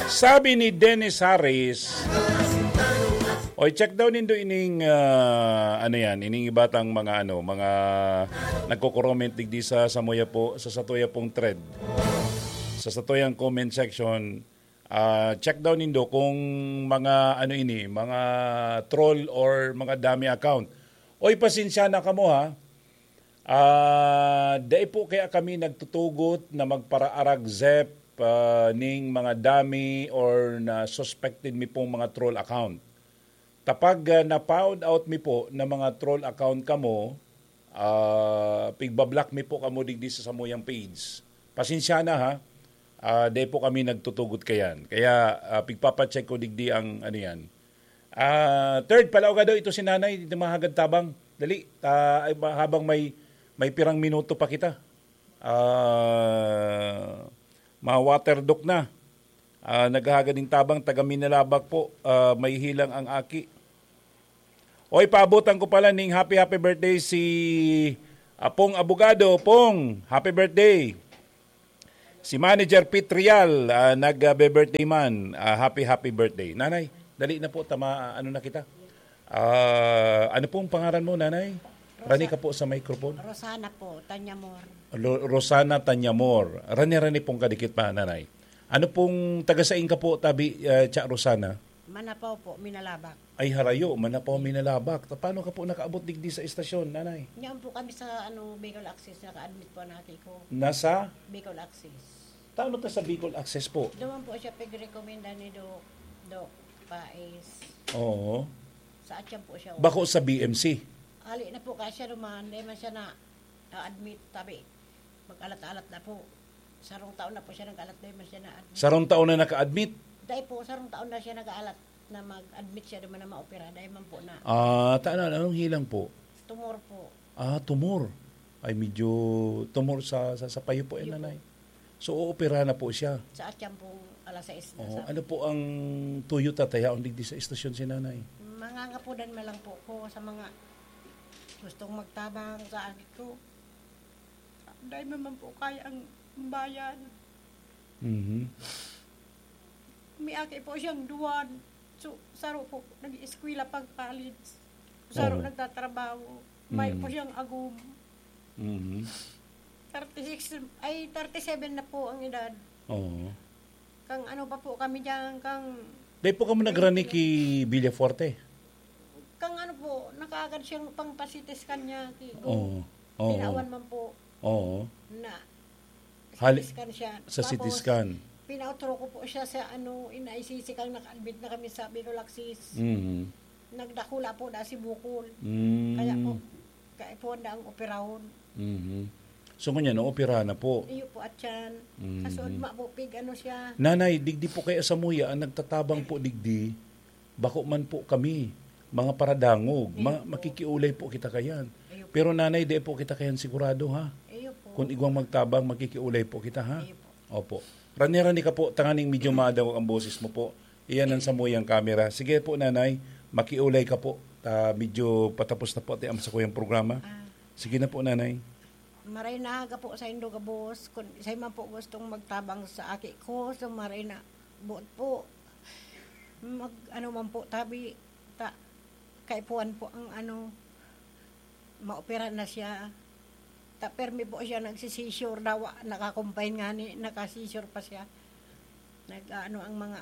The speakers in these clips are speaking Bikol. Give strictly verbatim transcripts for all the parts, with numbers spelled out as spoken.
Sabi ni Dennis Harris, "Oy, check daw nindo ining, ah, ano yan, ining iba tang mga, ano, mga nagko-comment digdi sa, sa moya po, sa satuya pong thread. Sa satuyang comment section, ah, check daw nindo kung mga, ano ini, mga troll or mga dummy account. Oy, pasensya na kamo, ha. Ah, dai po kaya kami nagtutugot na magparaarag, Zep, ah, ning mga dummy or na suspected mi pong mga troll account. Ta pag, ah, na-found out mi po na mga troll account kamo, ah, pigbablock mi po kamo digdi sa samuyang page. Pasensya na, ha. Ah, dai po kami nagtutugot kayan. Kaya, ah, pigpapacheck ko digdi ang ano yan. Ah, third, palauga daw ito si Nanay, dito mahagad tabang. Dali, ah, ay, ba- habang may may pirang minuto pa kita. Ah, ma-water dok na. Ah, naghahagad ning tabang, taga Minalabak po. Ah, may hilang ang aki. Oy, paabutan ko pala ning happy, happy birthday si Apong Abogado. Pong, happy birthday. Si Manager Pete Real, ah, nagbe-birthday man. Ah, happy, happy birthday. Nanay, dali na po, tama, ano na kita. Ah, ano pong pangaran mo, Nanay? Rani ka po sa microphone. Rosana po, Tanyamor. Lo- Rosana Tanyamor. Rani-rani pong kadikit pa, Nanay. Ano pong tagasaing ka po, tabi, ah, Cha Rosana? Manapaw po, Minalabak. Ay, harayo, Manapaw, Minalabak. Ta-, paano ka po nakaabot digdi sa estasyon, Nanay? Niyan po kami sa, ano, Bicol Access, naka-admit po ang aki ko. Nasa? Bicol Access. Tano ta sa Bicol Access po? Duman po siya pigrekomenda ni Doc, Doc Pais. Oo. Sa atyan po siya. Bako sa B M C? Ali na po kaya siya duman, dahil man siya na-admit, tabi. Mag-alat-alat na po. Sarong taon na po siya nag-alat, dahil man siya na-admit. Sarong taon na naka-admit? Dahil po, sarong taon na siya nag-aalat na mag-admit siya duman na maopera, dahil man po na. Ah, ta-, ano, anong hilang po? Tumor po. Ah, tumor. Ay, medyo tumor sa, sa, sa payo po, eh, Iyo po. Nanay. So, ooperahan na po siya. Sa atyan pong alas sais na Oo, sa ano po ang tuyo tatayaon digdi sa estasyon si Nanay? Mangangapodan man lang po ko sa mga gustong magtabang sa aki ko. Dahil man po kaya ang bayan. Mhm. May aki po siyang duwan. So, saro po, nag-eskwela pag college. Saro Oo. nagtatrabaho. May Mm. po siyang agom. Mhm. Thirty-six, ay, thirty-seven na po ang edad. Oo. Kang ano pa po kami dyan, kang Dahil po kamo nagrani ki Villafuerte? Kang ano po, nakaagad siyang pang pa-C T scan niya, ki Oo. Oo. Pinawan man po Oo. na Hali-, C T scan siya. Sa C T Tapos, scan. Pinautro ko po siya sa ano, in I C C kang naka-admit na kami sa Bicol Axis. Mhm. Nagdakula po na si Bukol. Mm. Kaya po, kaipuhan na ang operahon. Mhm. So, ngunyan, naoperahan na po? Iyo po, atyan. Mhm. Kaso, ma po, pig ano siya. Nanay, digdi po kay Asamuya, ang nagtatabang po digdi, bako man po kami, mga paradangog, Iyo ma-, po. makikiulay po kita kayan. Iyo po. Pero, Nanay, di po kita kayan sigurado, ha? Iyo po. Kung igwang magtabang, makikiulay po kita, ha? Iyo po. Opo. Rani-rani ka po, tanganing medyo madangog ang boses mo po. Iyan ang samuyang kamera. Sige po, Nanay, makiulay ka po. Ta, medyo patapos na po, ati, ang sakuyang programa. Ah. Sige na po, Nanay. Maray na aga po sa indo gabos. Kung isay man po gustong magtabang sa aki ko, so maray na buot po. Mag, ano man po, tabi, ta, kaipuhan po ang ano, maopera na siya. Ta, permi po siya nagsisisyor, dawa, nakakumpain nga ni, nakasisyor pa siya. Nag-ano ang mga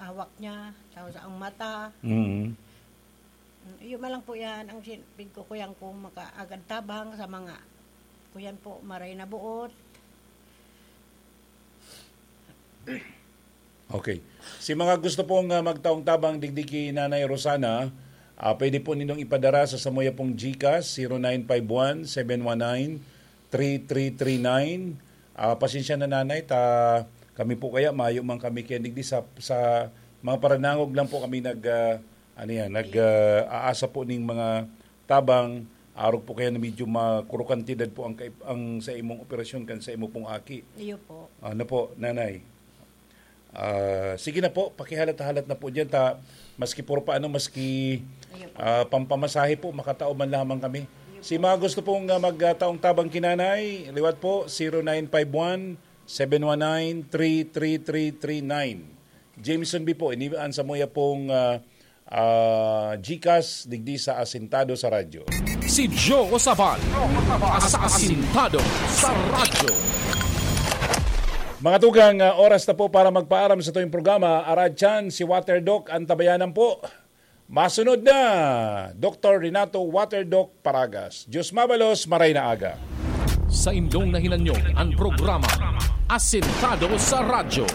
hawak niya, tapos ang mata. Mm. Mm, iyo man lang po yan ang sin-, pigkukuyan kong makaagad tabang sa mga kuyan po, maray na buot. Okay. Si mga gusto pong, ah, magtaong tabang digdi ki Nanay Rosana, ah, pwede po ninyong ipadara sa samuya pong GCash, zero nine five one, seven one nine, three three three nine. Ah, pasensya na, Nanay, ta kami po kaya mayo man kami kaya digdi sa, sa mga paranangog lang po kami nag, ah, ano yan, nag, ah, aasa po ning mga tabang, arog po kaya na medyo makurukantidad po ang, kaip-, ang sa imong operasyon kan sa imo pong aki. Iyo po. Ano po, Nanay? Ah, sige na po, pakihalat-halat na po diyan ta, maski puro pa ano, maski, Ayun po. ah, pampamasahe po, makatao man lamang kami. Ayun Si po. mga gusto pong, ah, magtaong tabang ki Nanay, liwat po, zero nine five one, seven one nine, three three three three nine. Jameson B po, ini an samuya pong ah, ah, Gcash digdi sa Asintado sa Radyo. Si Joe Sabal, sa Asintado sa Radyo. Mga tugang, ah, oras na po para magpaaram sa tuwing programa. Aradchan, si Water Doc, ang tabayanan po. Masunod na, Doktor Renato Water Doc Paragas. Diyos mabalos, maray na aga. Sa indong nahinanyog ang programa Asintado sa Radyo.